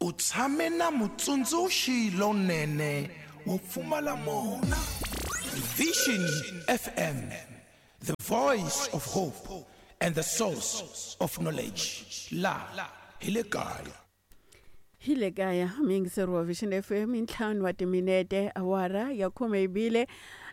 U tshame na mutsundzuxi lonene wo pfumala mona. Vision FM, the voice of hope and the source of knowledge. La hi le kaya. Hi le kaya muyingiseri wa Vision FM i ntlhanu wa timinete awara ya khume yi bile.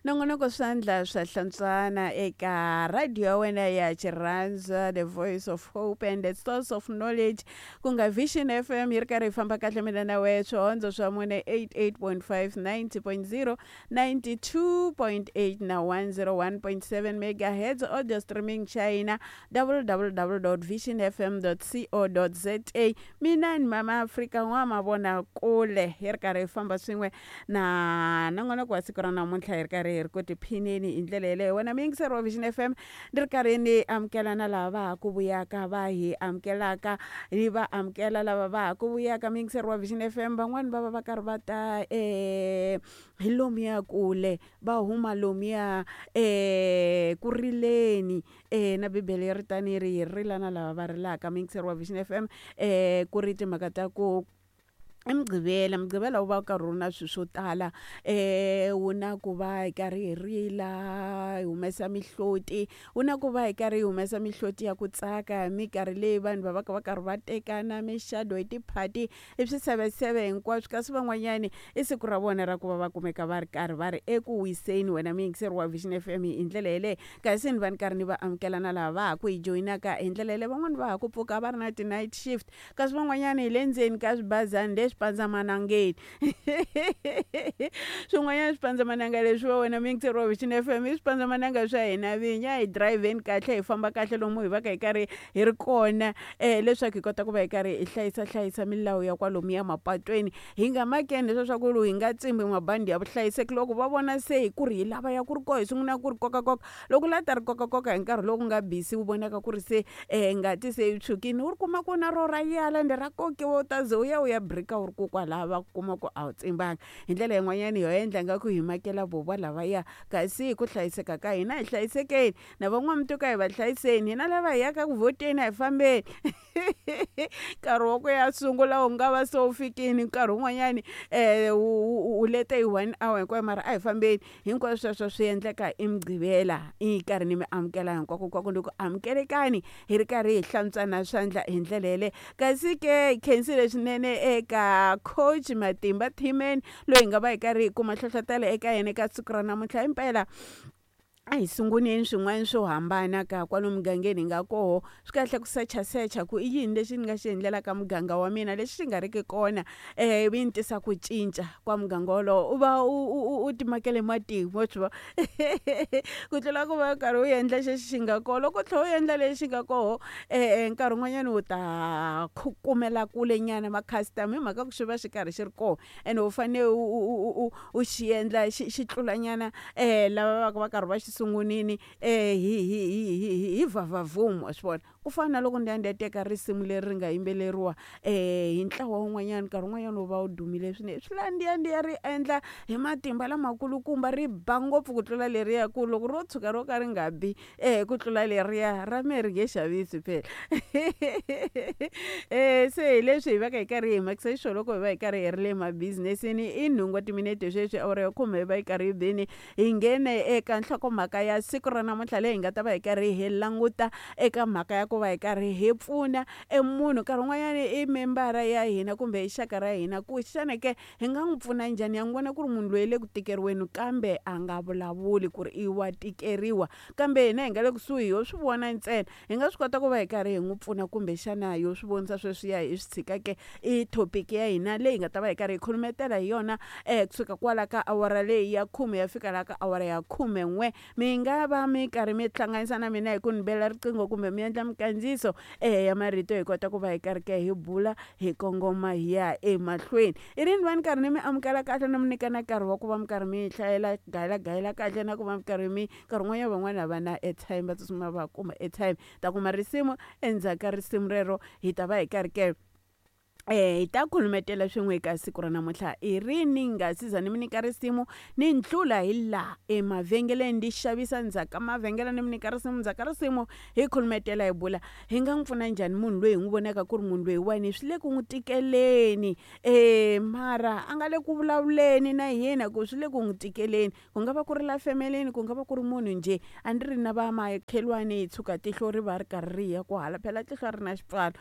Nongonoko swandla swa hlantswana eka radio ya wena ya Xirhandza, the voice of hope and the source of knowledge, ku nga Vision FM yi ri karhi yi famba kahle mina na wehe swihondzo swa mune 88.5, 90.0, 92.8 na 101.7 megahertz, audio streaming China www.visionfm.co.za. Mina ni Mama Afrika n'wamavona kule hi ri karhi hi famba swin'we na nongonoko wa siku ra namuntlha hi ri karhi hi ri ku tiphineni hi ndlela yeleyo. Wena muyingiseri wa Vision FM, ni ri karhi ni amukela na lava va ha ku vuyaka, va hi amukelaka, ni va amukela lava va ha ku vuyaka. Muyingiseri wa Vision FM, van'wani va va va karhi va ta hi lomuya kule, va huma lomuya ku rileni na Bibele yi ri tani yi ri hi rila na lava va rilaka. Muyingiseri wa Vision FM, ku ri timhaka ta ku i Mugqivela, Mugqivela wu va wu karhi wu ri na swilo swo tala, wu na ku va hi karhi hi rila hi humesa mihloti, wu na ku va hi karhi hi humesa mihloti ya ku tsaka hi minkarhi leyi vanhu va va ka va karhi va tekana mixado hi tiphati i swiseveseve hinkwaswo. Kasi van'wanyani i siku ra vona ra ku va va kumeka va ri karhi va ri eku wiseni. Wena muyingiseri wa Vision FM, hi ndlela yeleyo kasi ni va ni karhi ni va amukela na lava va ha ku hi joyinaka hi ndlela yeleyo. Van'wani va ha ku pfuka va ri na ti-night shift, kasi van'wanyana hi le ndzeni ka swibazana leswi pandzamanangeni swin'wanyana swipandzamananga leswi va wena muyingiseri wa Vision FM i swipandzamananga swa hina vinyi. A hi dirayivheni kahle, hi famba kahle lomu hi va ka hi karhi hi ri kona, leswaku hi kota ku va hi karhi hi hlayisa hlayisa milawu ya kwalomuya mapatweni. Hi nga makeni leswiya swa ku hi nga tsimbi mabandi ya vuhlayiseki loko va vona se hi ku ri hi lava ya ku ri koho hi sungula ku ri kokakoka. Loko la ta ri kokakoka hi nkarhi lowu ku nga busy wu vonaka ku ri se ngati se yi tshwukile, u ri kuma ku na ro ra yala ende ra kokiwa, u ta ze u ya u ya brika u ri ku kwalaya va kuma ku a wu tsimbanga. Hi ndlela yin'wanyana ho endla nga ku hi makela vovo lavaya, kasi hi ku hlayiseka ka hina hi hlayisekeni na van'wamituka hi va hlayiseni, hina lava hi yaka ku vhoteni a hi fambeni. Nkarhi wa ku ya sungula wu nga va se wu fikile, nkarhi wun'wanyani wu lete hi 1 hour hinkwayo, mara a hi fambeni. Hinkwaswo sweswo swi endleka i Mugqivela, i karhi ni mi amukela hinkwako hinkwako, ni ku amukelekani hi ri karhi hi hlantswana swandla hi ndlela yeleyo. Kasi ke hi khensile swinene eka coach Matimba Thimen loyi hi nga va hi karhi hi kuma nhlohlotelo eka yena eka siku ra namuntlha. Himpela a hi sunguleni swin'wana swo hambana ka kwalomu mugangeni hi nga koho. Swi kahle ku sechasecha ku i yini lexi ni nga xi endlelaka muganga wa mina lexi xi nga riki kona, ivi ni tisa ku cinca kwa muganga wolowo. U va u timakele matimu wa swi vona ku tlula ku va u karhi u endla xexi xi nga koho. Loko u tlhela u endla lexi nga koho, nkarhi wun'wanyana u ta kumela kule nyana ma-customer hi mhaka ku xi va xi karhi xi ri kona, ene u fanele u u xi endla xi xi tlulanyana lava va va karhi va xi sungunini hi hi hi hi hi vhavhavhumu wa swi vona. Ku fana na loko ni ya ni ya teka risimu leri ri nga yimbeleriwa hi ntlawa wun'wanyana nkarhi wun'wanyana wu va wu dumile swinene, swi la ni ya ni ya ri endla hi matimba lamakulukumba ri ba ngopfu ku tlula leriya, ku loko ro tshuka ro ka ri nga bi ku tlula leriya ra mehe ri nge xavisi phela. Se hi leswi hi va ka hi karhi hi makisa xiswona loko hi va hi karhi hi ri le mabizinesini. I nhungu wa timinete sweswi awara ya khume hi va yi karhi yi bini, hi nghene eka nhlokomhaka ya siku ra namuntlha leyi hi nga ta va hi karhi hi languta eka mhaka ya ku va hi karhi hi pfuna e munhu. Nkarhi wun'wanyana i membara ya hina kumbe i xaka ra hina, ku xana ke hi nga n'wi pfuna njhani? Ya n'wi vona ku ri munhu loyi le ku tikeriweni kambe a nga vulavuli ku ri i wa tikeriwa, kambe hina hi nga le kusuhi ho swi vona ntsena, hi nga swi kota ku va hi karhi hi n'wi pfuna kumbexana yo swi vonisa sweswiya hi swi tshika ke. I topic ya hina leyi hi nga ta va hi karhi hi khulumetela hi yona kusuka kwala ka awara leyi ya khume ya fika laha ka awara ya khume n'we. Mi nga va mi karhi mi hlanganisa na mina hi ku ni bela riqingho kumbe mi endla minkandziyiso ya marito hi kota ku va hi karhi ke hi bula hi kongoma hi ya emahlweni. I rini va ni karhi ni mi amukela kahle ni mi nyika na nkarhi wa ku va mi karhi mi hlayela gayela gayela kahle na ku va mi karhi mi nkarhi wun'wanyana van'wana a va na airtime va tsutsuma va kuma airtime ta kuma risimu, endzhaku ka risimu rero hi ta va hi karhi ke Hi ta khulumetela swin'we eka siku ra namuntlha i rini nga siza ni mi nyika risimu ni ndlula hi laha emavhengeleni ndi xavisa ndzhaku ka mavhengele ni mi nyika risimu ndzhaku ka risimu hi khulumetela hi bula hi nga n'wi pfuna njhani munhu loyi hi n'wi vonaka ku ri munhu loyiwani swi le ku n'wi tikeleni mara a nga le ku vulavuleni na hina ku swi le ku n'wi tikeleni ku nga va ku ri la femeleni ku nga va ku ri munhu njhe a ni ri na va makhelwani hi tshuka tihlo ri va ri karhi ri ya kwahala phela tihlo a ri na xipfalo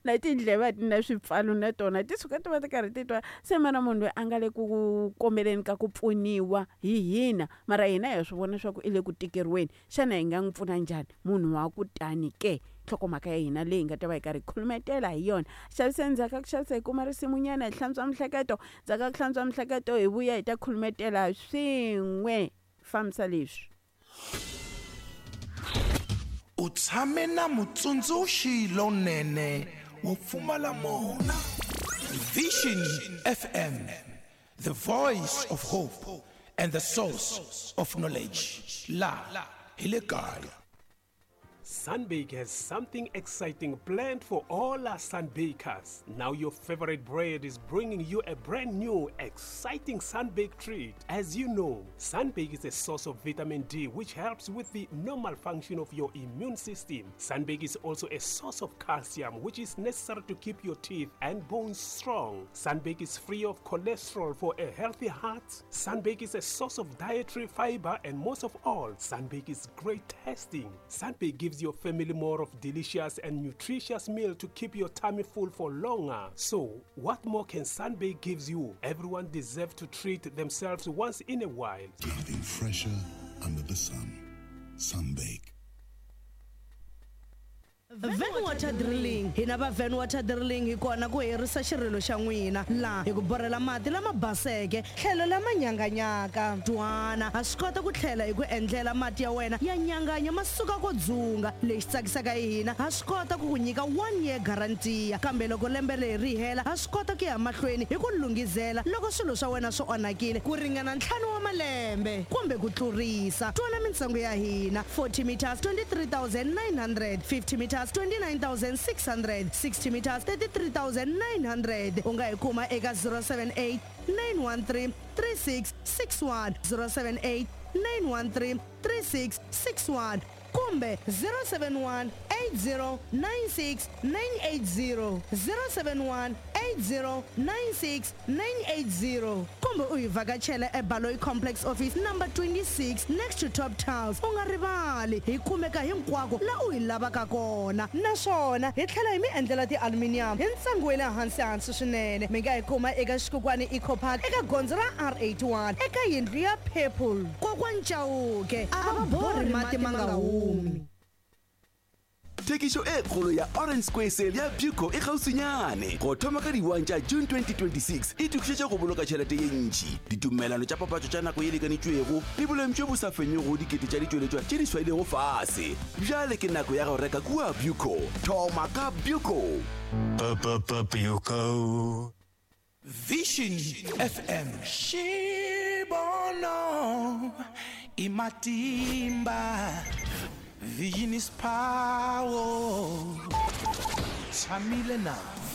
na tindleve a ti na swipfalo na tona ti suka ti va ti karhi ti twa se mara munhu loyi a nga le ku kombeleni ka ku pfuniwa hi hina mara hina ha swi vona swa ku i le ku tikeriweni xana hi nga n'wi pfuna njhani munhu wa ku tani ke nhlokomhaka ya hina leyi nga ta va hi karhi hi khulumetela hi yona xavisa endzhaku ka ku xavisa hi kuma risimunyana hi hlantswa mihleketo ndzhaku ka ku hlantswa mihleketo hi vuya hi ta khulumetela swin'we fambisa leswi U tshame na mutsundzuxi lonene wo pfumala mona. Vision FM, the voice of hope and the source of knowledge. La hi le kaya. Sunbake has something exciting planned for all our Sunbakers. Now your favorite bread is bringing you a brand new, exciting Sunbake treat. As you know, Sunbake is a source of vitamin D which helps with the normal function of your immune system. Sunbake is also a source of calcium which is necessary to keep your teeth and bones strong. Sunbake is free of cholesterol for a healthy heart. Sunbake is a source of dietary fiber and most of all, Sunbake is great tasting. Sunbake gives your family more of delicious and nutritious meal to keep your tummy full for longer. So, what more can Sunbake gives you? Everyone deserves to treat themselves once in a while. Nothing fresher under the sun. Sunbake. Van Water Drilling hina va Van Water Drilling hi kona ku herisa xirilo xa n'wina laha hi ku borhela mati lama baseke tlhelo lama nyanganyaka twana ha swi kota ku tlhela hi ku endlela mati ya wena ya nyanganya ma suka ko dzunga lexi tsakisaka hi hina ha swi kota ku ku nyika one year guarantee kambe loko lembe leri ri hela ha swi kota ku ya mahlweni hi ku lunghizela loko swilo swa wena swi onhakile ku ringana ntlhanu wa malembe kumbe ku tlurisa twana mintsengo ya hina 40 meters 23900 50 meters 29600 60 meters 33900 u nga hi kuma eka 078 913 3661 078 913 3661 kumbe 071 8096 980 071 8096 980 kumbe u hi vhakachela eBaloyi Complex Office number 26 next to Top Tiles u nga rivali hi kumeka hinkwako la u hi lavaka kona naswona hi tlhela hi mi endlela ti-aluminium hi ntsengo wa le hansi hansi swinene mi nga hi kuma eka Xikukwani Eco Park eka gondzo ra R81 eka yindlu ya Purple kokwani Chauke a va borhi mati ma nga humi Thekišo e kgolo ya Orange Square Sale ya Buco e kgauswinyane go thoma ka di-1 tša June 2026 e tokišetša go boloka tšhelete ye ntši ditumelano tša papatšo tša nako ye lekanetšwego le boleng bjo bo sa fenyego dikete tša ditšweletšwa tše di swailego fase bjale ke nako ya go reka kua Buco thoma ka Buco Buco. Vision FM Xibono i matimba Vision is power Tshamile na